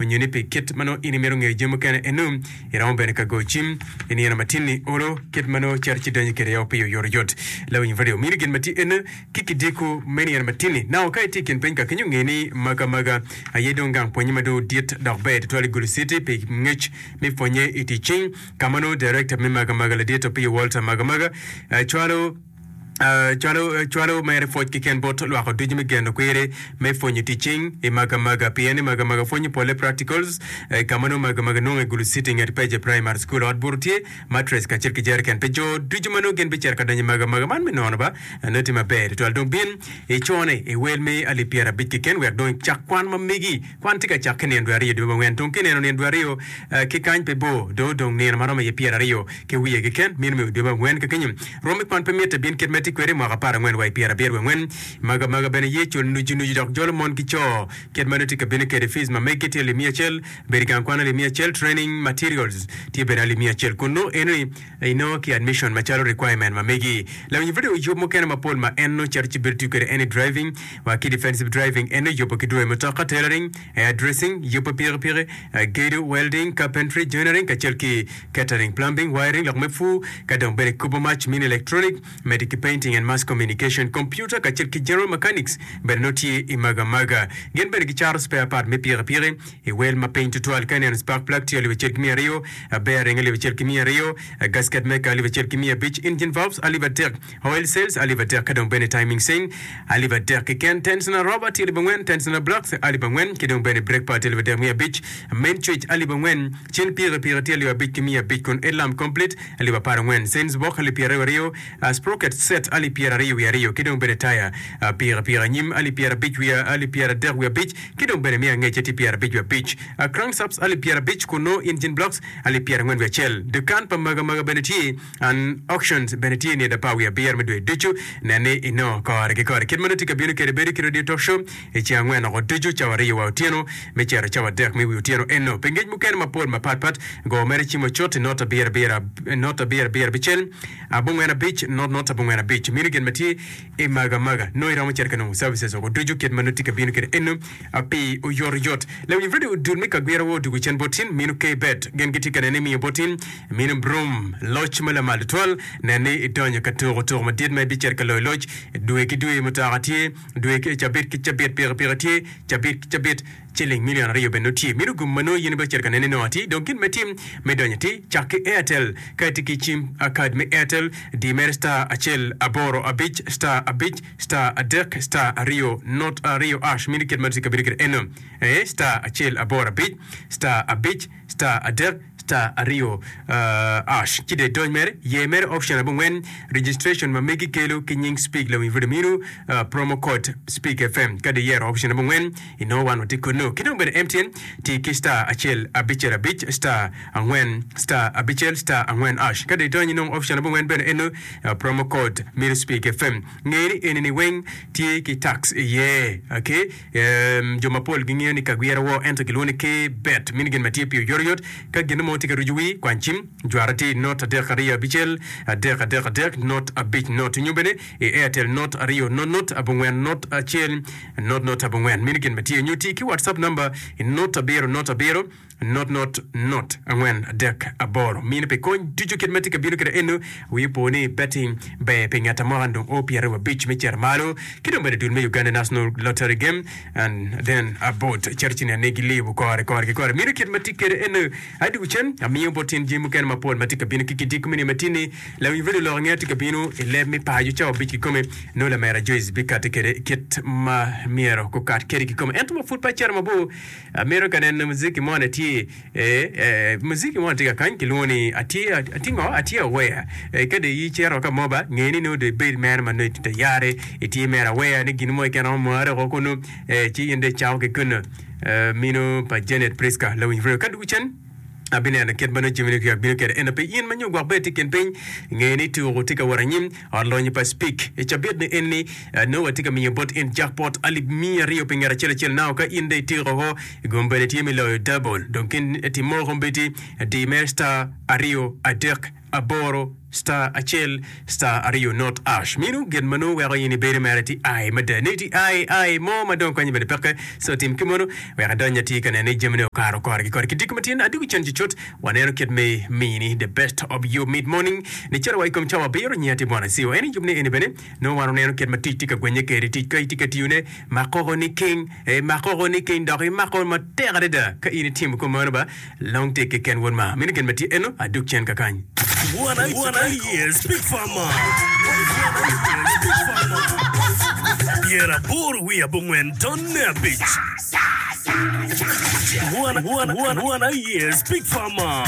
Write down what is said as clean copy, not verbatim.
Onyo ni pi kit ma nongo in imito ngeyo jami mukene enu, iromo bene ka goyo cim i nino ma tin-ni olo kit ma nongo cito ci donyo kwede pi oyotoyot. Lawiny radio mini gin ma tye enu ki kidiko me nino ma tin-ni. Nao ka itye i kin piny ka kenyo nge ni maga maga aye dong gang pwonye ma dong dit dok ber tutwal i Gulu City pi ngec me pwonye i tic cing ka ma nongo Director me Maga Maga Ladit Opiyo Walter Maga Maga cwalo Cwalo cwalo mere pwoc keken bot lwako ducu me geno kwiri me pwonyo tic cing i Magamaga pien i Magamaga pwonyo pole practicals ka ma nongo Magamaga nongo i Gulu City nget Peje Primary School. Ot buto tye, mattress kacel ki jereken pi jo ducu ma nongo gin bicito ka donyo i Magamaga man me nono ba nongo tye maber tutwal. Dong bin icone i wel me alip 50 keken wek dong icak kwan ma megi. Kwan tye ka cakke nino dwe aryo dwe me angwen. Dong ka ineno nino dwe aryo ki kany pe bor, dong odong nino ma romo iye 20 ki wiye keken, meno me dwe me angwen ka kenyo. Rwom me kwan pe mitte bin kit ma itye kwede i mwaka 14 wa i pyerabiro wiye angwen. Maga maga bene ye cul nucu nucu dok jolo mon ki co. Kit ma nongo tye ka bino kwede fees ma megi tye alip 100, bedo i gang kwan alip 100, training materials tye bene alip 100 kun nongo enoni inongo ki admission macalo requirement ma megi. Lawiny pud oyub mukene mapol ma en nongo cito ci bedo tiyo kwede eni driving wa ki defensive driving en nongo yubo ki dwoyo mutoka, tailoring, hair dressing, yubo pikipiki, gedo, welding, carpentry, joinery kacel ki catering, plumbing, wiring, lok me pur ka dong bene kubo mac mini electronic medo ki painting and mass communication, computer kacel ki general mechanics bene nongo tye i maga maga. Gin bene gicato spare part me pikipiki i wel ma piny tutwal. Ka ineno spark plug tye 1200, bearing 1200, gasket maker 1500, engine valves 3000, oil seals 3000 ka dong bene timing chain 3000 keken, tensioner rubber tye 4000, tensioner blocks 4000 ki dong bene brake pad tye 3500, main switch 4000, cin pikipiki tye 5500 kun headlamp complete 14,000, chains box 22,000, sprocket set 22,000 ki dong bene taya pikipiki anyim 50 wiye 35,000 ki dong bene me angecce tye 55. Crankshafts 50,000 kun nongo engine blocks 41,000. Dukan pa maga maga bene tye and auctions bene tye nino 17 me dwe ducu. Nen ni inongo kore ki kore kit ma nongo tye ka bino kwede bedo ki radio talk show i ceng angwen oko ducu cawa aryo wa otyeno me cito cawa adek me wi otyeno eno. Pi ngec mukene mapol mapat pat go mere cim ocut i not abiro abiro not abiro abiro abicel abongwen abic not not abongwen abic. Mino gin ma tye i maga maga nongo iromo cito ka nongo services oko ducu kit ma nongo tye ka bino kwede eno pi oyotoyot. Lawiny radio dul me kagwira wa odugo cen bot tin mino K-bet gin gitye ka nene miyo bot tin mino Broom loc ma lamal tutwal nen ni idonyo ka tuko tuko madit ma ibicito ka loyo loc dwe ki dwe mutoka tye dwe ki cabit ki cabit pikipiki tye cabit ki cabit Ciling milion aryo bene nongo tye. Meno gum ma nongo in ibecito ka nene nongo atir. Dong gin me tim me donyo atir, cak ki Airtel. Ka itye ki cim kad me Airtel, di mere star acel aboro abic star abic star adek star aryo not aryo ash. Meno kit ma tye ka bedo kwede eno. Ee, star acel aboro abic star abic star adek star aryo ash. Ci dong idony mere, yer mere option abongwen, registration ma megi kelo ki nying Speak Lawiny Radio minu promo code Speak FM. Ka dong iyero option abongwen, Inongo wan watye kunnu. Ki dong bene MTN ti ki star acel abicel abic star angwen star abicel star angwen ash. Ka dong idonyo inongo option abongwen bene eno promo code mito Speak FM. Nge ni eni ni weng tye ki tax iye. Okay? Um, jo mapol gingeyo ni kagwira wo ento gilwongo ni K-bet. Mini gin ma tye pi oyotoyot. Ka gin mo tye ka rucu wii, kwany cim, jwara tye i not adek aryo abicel adek adek adek not abic not. Nyo bene i Airtel not aryo not not abongwen not acel Not not abongwen mini gin ma tye nyo ti ki WhatsApp number i not abiro not abiro not not not angwen adek aboro. Mini pi kony ducu kit ma tye ka bino kwede eno. Wi opo ni betting ber pi ngat amoka dong o 25 me cito malo ki dong bene dul me Uganda National Lottery Game and then about cito ci nene gilibo kore kore ki kore. Mini kit ma tye kwede eno. Adwogo cen amiyo bot tyen jami mukene mapol ma tye ka bino ki kidiko mini matini. Lawiny radio lok angeya tye ka bino i leb me paco cawa abic kikome. Nongo lamera Joyce bikati kede i kit ma myero gukat kede kikome. Ento ma pud pe acito mabor, amito ka neno muziki mo ni tye e, muziki mo tye ka kany kilwongo ni atye atye ngo atye aware. E, ka dong icito ka mo ba nge ni nongo dong ibed mere ma nongo itye tayari itye mere aware ni gin mo keken romo mare woko kunu e, ci in dong icako ki kunu. E, mino pa Janet Prisca lawiny radio ka dwogo cen. Abineno kit ma nongo jamine kyak bino kwede. Ento pi in ma nyo gwok bene tye i kin piny, nge ni tuko tye ka wot anyim. Ot lonyo pa Speke i cabit ni eni, nongo watye ka miyo bot in jackpot alip 200 pi ngat acel acel. Nao ka in dong ityeko oko, gum bene tye me loyo double. Dong kin timmo kombeddi, di mere star aryo adek. aboro star acel star aryo not ash. Meno gin ma nongo weko in ibedo mere ti ai mada ni ti ai ai mo ma dong konye bene peke. So tim ki mono wek adony atir ka neno ni jamine okato kore ki kore. Ki diko matin adugo cen cucut waneno kit me mini the best of your mid morning ni cito wa i kom cawa abiro nyi ati bwana CO. En yub ni eni bene nongo wan oneno kit ma tic tye ka gwenye kede tic ka itye ka tiyone makoko ni king eh makoko ni king dok imako matek adada ka in itimo kumeno ba Long tik keken wod ma. Meno gin ma tye eno, adug cen kakany. One aye Speak Farmer. 85 tonne abic. One aye Speak Farmer.